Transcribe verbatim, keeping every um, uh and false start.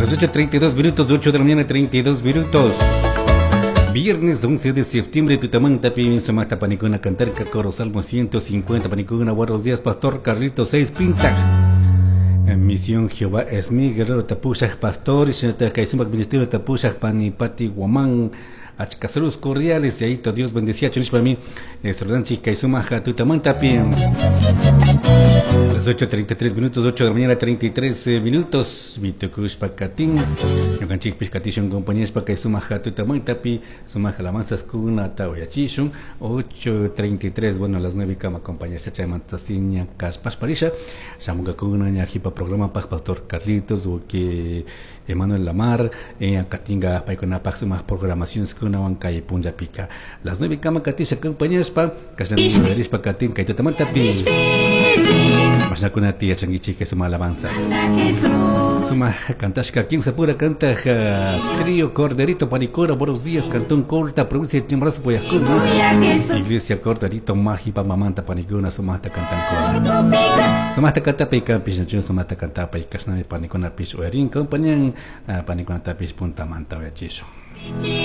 Las ocho treinta y dos minutos, ocho de la mañana, treinta y dos minutos. Viernes once de septiembre, tutamanta pi sumata panicuna cantarca coro salmo ciento cincuenta panicuna. Buenos días, Pastor Carlito Seis Pinta. Misión Jehová es mi guerrero tapushaj pastor, y ministerio tapushaj panipati guamán. Achka saludos cordiales y ahí Dios bendecía chunishpa mi saludan chica y sumaja tutamanta pi. Las ocho treinta y tres minutos, ocho de la mañana treinta y tres minutos. Mitukushpa katin. Ñukanchik pishkatishun compañía kay sumaja tutamanta pi sumaja alabanzas kunata uyachishun. ocho treinta y tres, bueno, a las nueve kama compañía chaymanta siña kashpashparisha. Shamungakuna ña jipa programa paj Pastor Carlitos o que Emanuel Lamar, eh, katinga paykuna paj sumaq programaciones kunawan kay punllapika. Las nueve kama katisha compañía pa kashan katin kay tutamanta pi. Mashnakuna tiyachankichik suma alabanzas. Suma cantashka kimsa pura canta trío Corderito Panicura. Buenos días, Cantón Colta, provincia de Chimborazo, Poyascuna. Iglesia Corderito Mágipa Mamanta Panicuna, sumata cantancona. Sumata canta pica pishnachun, sumata canta pa ikashnami panicuna pish uyarin compañían panicuna tapish punta manta uyachisho.